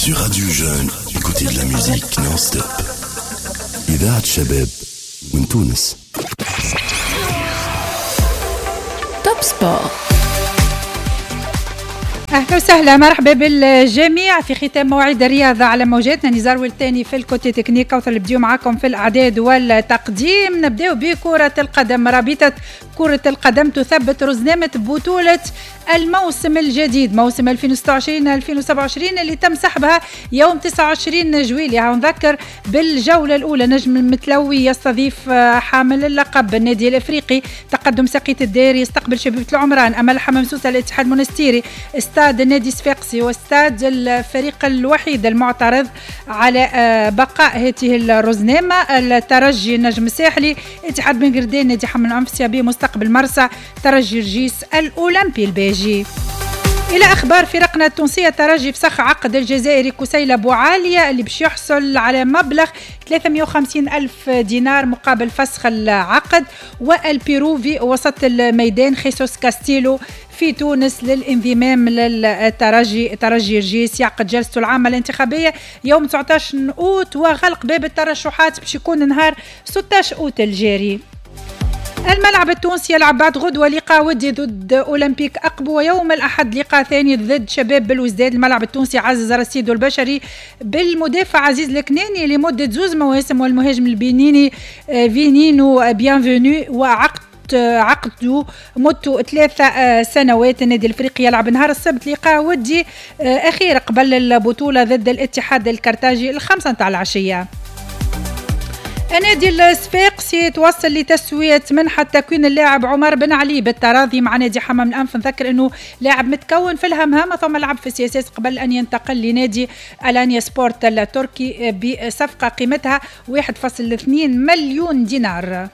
Sur Radio Jeune, écoutez de la musique non-stop. إذاعة شباب من تونس. Top Sport. اهلا وسهلا، مرحبا بالجميع في ختام موعد الرياضة على موجاتنا. نزار والتاني في ال côté technique، كوثر البديو معاكم في الاعداد والتقديم. نبداو بكره القدم. رابطه كره القدم تثبت رزنامه بطوله الموسم الجديد، موسم 2026-2027 اللي تم سحبها يوم 29 جويلية. نذكر بالجولة الاولى نجم المتلوي يستضيف حامل اللقب النادي الافريقي، تقدم سقية الدير يستقبل شبيبة العمران، امل حمام سوسة الاتحاد المونستيري، استاد النادي الصفاقسي واستاد الفريق الوحيد المعترض على بقاء هذه الرزنامه، الترجي النجم الساحلي، اتحاد بن قردان، نادي حمام الأنف، CAB مستقبل مرسى، ترجي رجيس، الاولمبي الباجي. الى اخبار فرقنا التونسية، ترجي فسخ عقد الجزائري كسيلة بوعالية اللي باش يحصل على مبلغ 350 ألف دينار مقابل فسخ العقد، والبيروفي وسط الميدان خيسوس كاستيلو في تونس للانضمام للترجي. ترجي رجيس يعقد جلسته العامة الانتخابية يوم 19 أوت، وغلق باب الترشحات باش يكون نهار 16 أوت الجاري. الملعب التونسي يلعب بعد غدوة لقاء ودي ضد أولمبيك أقبو، ويوم الأحد لقاء ثاني ضد شباب بلوزداد. الملعب التونسي عزز رصيده البشري بالمدافع عزيز الكناني لمدة 2 مواسم، والمهاجم البنيني فينينو بيانفونو وعقد عقده مدته 3 سنوات. النادي الافريقي يلعب نهار السبت لقاء ودي اخير قبل البطولة ضد الاتحاد الكرتاجي 5 نتاع العشية. النادي الصفاقسي توصل لتسوية منحة تكوين اللاعب عمر بن علي بالتراضي مع نادي حمام الأنف. نذكر أنه لاعب متكون في الهمهمة ثم لعب في CSS قبل أن ينتقل لنادي ألانيا سبورت التركي بصفقة قيمتها 1.2 مليون دينار.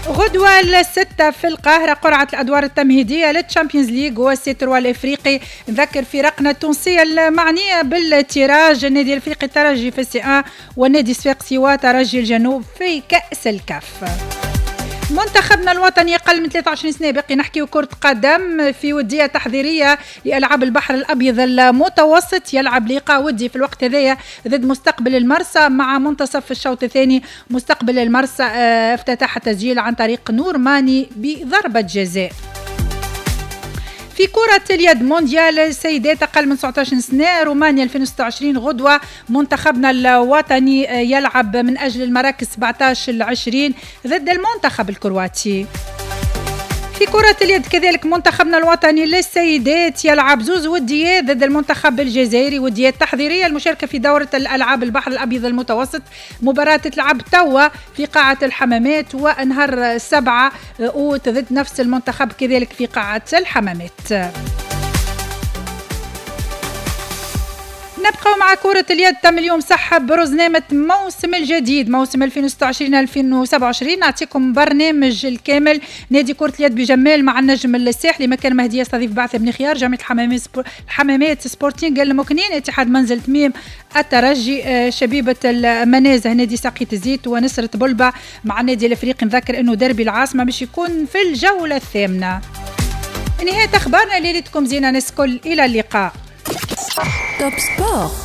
غدوة 6 في القاهرة قرعة الأدوار التمهيدية لل Champions League وال C3 الإفريقي. نذكر فرقنا التونسية المعنية بال tirage، النادي الإفريقي الترجي في ال C1 والنادي الصفاقسي وترجي الجنوب في كأس الكاف. منتخبنا الوطني أقل من 23 سنة، باقي نحكي كرة قدم في ودية تحضيرية لألعاب البحر الأبيض المتوسط، يلعب لقاء ودي في الوقت هذايا ضد مستقبل المرسى مع منتصف الشوط الثاني. مستقبل المرسى افتتح التسجيل عن طريق نور ماني بضربة جزاء. في كرة اليد مونديال السيدات أقل من 19 سنة رومانيا 2026، غدوة منتخبنا الوطني يلعب من أجل المراكز 17-20 ضد المنتخب الكرواتي. في كرة اليد كذلك منتخبنا الوطني للسيدات يلعب 2 وديات ضد المنتخب الجزائري، وديات تحضيرية المشاركة في دورة الألعاب البحر الأبيض المتوسط. مباراة تلعب توا في قاعة الحمامات، ونهار 7 أوت ضد نفس المنتخب كذلك في قاعة الحمامات. نبقى مع كرة اليد. تم اليوم سحب رزنامة موسم الجديد موسم 2026-2027. نعطيكم برنامج الكامل. نادي كرة اليد بجمال مع النجم الساحلي، مكان مهدي يستضيف بعث بن خيار، جامعة الحمامات سبورتينغ المكنين، اتحاد منزل تميم، الترجي، شبيبة المنازه، نادي ساقية الزيت، ونسرة بلبة مع النادي الافريقي. نذكر انه دربي العاصمة باش يكون في الجولة الثامنة. نهاية اخبارنا، ليلتكم زينة ناس الكل، الى اللقاء. Top Sport.